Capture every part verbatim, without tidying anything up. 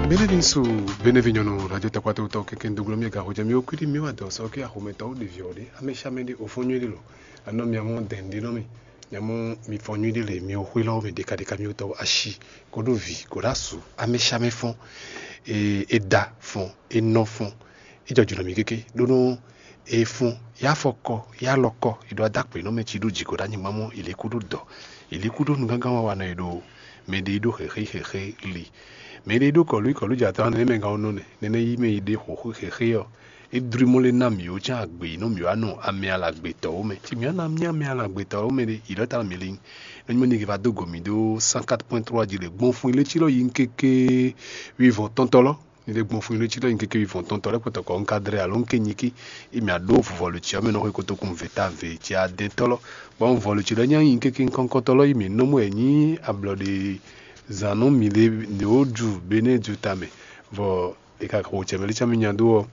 Benevin su, Benevin nyɔnu radio takpatɔwutɔ kɛkɛ doglɔ mi ga hojɛ mi okudi mi wa dɔ sɔ ke axɔmɛtɔ wo ɖevi ɔɖe amɛshamɛ ɖe ofɔnyɔ ɖe lɔ. Anɔ mi amɔ dɛn ɖe nɔ mi. Mi amɔ mi fɔnyɔ ɖe le mi oxwe lɔ mi ɖeka ɖeka mi wutɔ ashi koɖo vi koɖo asu amɛshamɛ fɔn. E da fɔn, e nɔ fɔn. E jɔ jùlɔ mi kéke ɖó nɔ e fun, ya fɔkɔ, ya lɔkɔ, e ɖo adakpe nɔ mɛ ci ɖo jǐ ko ɖo anyigba mɔ, e lě kú ɖo dɔ, e lě kú ɖo nugángan wa wa nɔ e ɖo mɛ ɖe e ɖo xexé xexé li. Mɛ ɖe e ɖo kɔlú kɔlú jɛ atɔn nɛnɛ mɛ gán nɔ nɛ nɛnɛ yi mɛ e ɖe xɔxó xexé ɔ́, é dlú mɔ lé ná mǐ ó cán agbe yi nɔ mǐ wá nɔ amɛ alagbetɔ́ ó mɛ. Ci mǐ wá ná mì amɛ alagbetɔ́ ó mɛ ɖe, yi ɖɔ ta mǐ lin. Nɔ nyí mɔ ni va dó gɔ̌ mì ɖó cent quatre point trois jí le gbɔn fun ilé ci lɔ yi kéké wivɔn tɔntɔ lɔ. Ni ɖe gbɔn fún ilé ci lɔ nyi kéké wivɔn tɔntɔ lɛ́ kpɔtɔ kɔ un ka dlɛ́ alo un ké nyí kí i mì aɖó vuvɔlu ci ɔ́ mɛ nɔ xwe kotokun vě ta vě ci adɛntɔ́ lɔ. Bɔ un vɔlu ci lɔ nyí nyi kéké kɔnkɔntɔ lɔ yi mǐ nɔ mɔ ɛ nyí ablɔ ɖe zǎn nú mǐ ɖe ɖě ó ju bené ju tamɛ. Vɔ è ka xo cɛ mɛ lé cán mì nya dó ɔ́,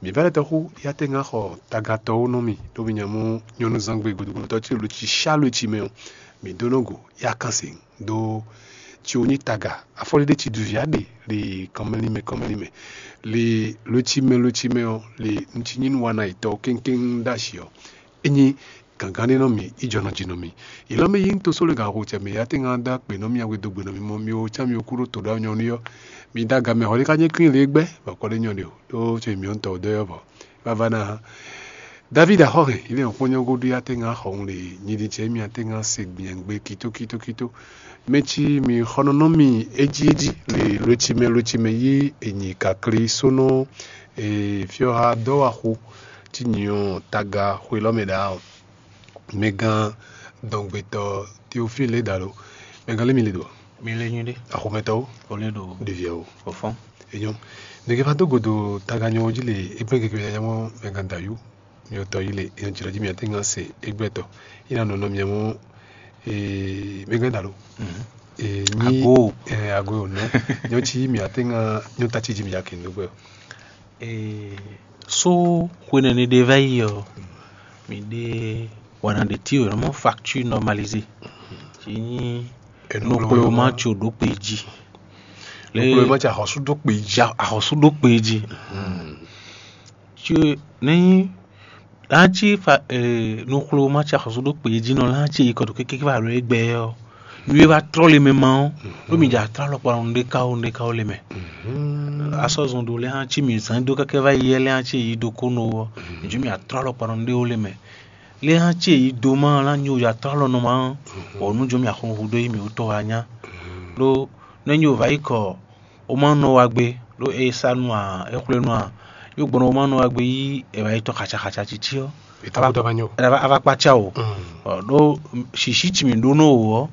mǐ vɛ́ lɛ́ tɔ́ xú yá tɛ́ ŋá xɔ tagatɔ́ ó nɔ mì ɖó mì nya mɔ nyɔ́núzangbe gudugudu tɔ́ ci lo ci sá lo ci mɛ ɔ́, mǐ dó nɔ go yá kan sěŋ. Ɖó ci wo nyí taga afɔlíɖé ci duvi aɖe li kɔnmɛlímɛ kɔnmɛlímɛ li lócímɛ lócímɛ ɔ́ li nci nyí nuwana yětɔn kéŋkéŋ ɖó asi ɔ́, é nyí gǎngán ɖé nɔ mì, í jɔ nɔ ji nɔ mì. Ilɔ́ mɛ yí ń tosó le gǎn xo cɛ mɛ yá tɛ́ ŋá dó akpě nɔ mì awe dó gbe nɔ mì mɔ mi wo cá mi wo kúɖó to ɖó anyɔ ní ɔ́, mi dó aga mɛ xɔ ɖé ká nyɛ klín le gbɛ́ bɔ kɔ ɖé nyɔ ɖe o ɖó co mǐ ɔ́ tɔ dó yɔ vɔ. Vavá ná David axɔ́hɛn ilé ɔ́ kpɔ́n nyɔ́ gúdo yá tɛ́ ŋá xɔ un le nyidin ce mì atɛ́ ŋá se gbìyàngbé kítókítókító. Mɛ ci mi xɔnɔnɔ mi ejí ejí le lócimɛ lócimɛ yí ènyì kakli sónɔ e fyɔ́ha dɔ́waxu tí nyi ɔ́ taga xwelɔ́ mɛ ɖa ɔ́. Mɛgán dɔngbetɔ Teofíle ɖalo. Mɛgán lé mi le ɖo Mi le nyuɖe. Axɔmɛtɔwo O le ɖo ɖeviɛwo. Fɔfɔn. Enyɔ. Nɛgɛ va dó godo taganyɔ jí le égbé gege ya mɔ mɛgán dayú. Mi ɔtɔ yi le enyɔ jìlɔ jí mi atɛ ŋa se égbé tɔ. Ina nɔnɔ mi mɔ ee mɛgán dalo. Mhm. Ee nyi Ago. Ee ago o nɔ. Nyɔ ci mi atɛ ŋa nyɔ ta ci jí mi ya kendo gbɛ. Ee, so xwe nɛnɛ ɖe va yi ɔ́, mi ɖe wana ɖe ti o nɔ facture normalisée. Ci nyi Enu nukploma tso ɖo kpe jí. Nukploma tso axɔsu ɖo kpe jí. Ja axɔsu ɖo kpe jí. Ci ne nyi lanci fa eh, nukploma tso axɔsu ɖo kpe jí nɔ lanci yi kɔtɔ kékeré va ɖo egbɛ ɔ́. Nu e va trɔ le mɛ ma ɔ́, ɖó mi dza trɔ alɔkpa nɔ ɖe kawo ɖe kawo le mɛ. Asɔ zɔn ɖo lɛ hã ci mi zan do kɛkɛ va yi yɛ lɛ hã ci yi do ko nɔ ɔ́, mi dzo mi atrɔ alɔkpa nɔ ɖe wo le mɛ. Lɛ hã ci yi do ma la nyo ya trɔ alɔ nɔ ma ɔ́, bɔ nu dzo mi axɔn hu do yi mi wutɔ wa nya. Ɖó ne nyo va yi kɔ o ma nɔ wa gbe ɖó e sa nu a e xwle nu a, yo gbɔn o ma nɔ wa gbe yi e va yi tɔ xatsa xatsa titi ɔ́. Ava kpatsa o. Ɖó sisi ci mi ɖó nɔ o ɔ́,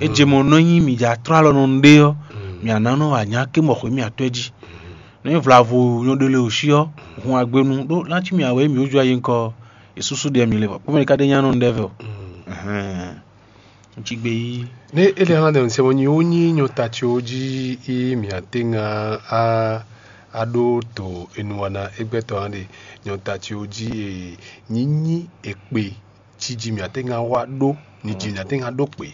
e je mɔ nɔ nyi mi dza trɔ alɔ nɔ ɖe ɔ́, mi ana nɔ anya ke mɔ xwe mi atɔɛ jí. Nɔ nyi vlavo nyɔ ɖe le o si ɔ́, hun agbe nu ɖó lanci mi awɛ mi wúzu ayi ŋkɔ e susu ɖe mi le vɔ kpɔmɛ ka ɖe nya nɔ ɖe vɛ o. Ŋci gbe yi. Ne ele hã ɖe ŋsɛ mɔ nyi wo nyi nyɔ ta ci wo jí yi mi ate ŋa a a ɖo to enu wana egbɛtɔ hã ɖe nyɔ ta ci wo jí e nyi nyi ekpe ci jí mi ate ŋa wa ɖo ni jí mi ate ŋa ɖo kpe.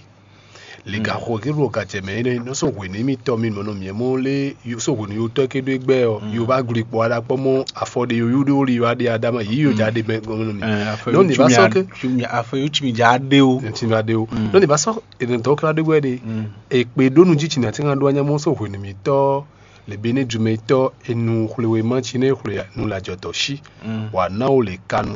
Lega xɔ ke ɖo gacɛ mɛ ene nɔ so hwe ne mi tɔ mi mɔ nɔ miɛ mɔ le so hwe ne yo tɔ ke ɖo egbɛ ɔ yo va gli kpɔ ada kpɔ mɔ afɔ de yo yu de wo li yo ade adama yi yo ja de mɛ gɔmɔ nɔ mi. Nɔ ni va sɔ ke afɔ yo tsi mi ja de o. Ti va de o nɔ ni va sɔ ene tɔ kla de wɛ de ekpe ɖo nu ji tsi na ti ŋa ɖo anya mɔ so hwe ne mi tɔ le be ne jumɛtɔ enu xwlewema tsi ne xwle nu lajɔtɔ si wa na wo le kanu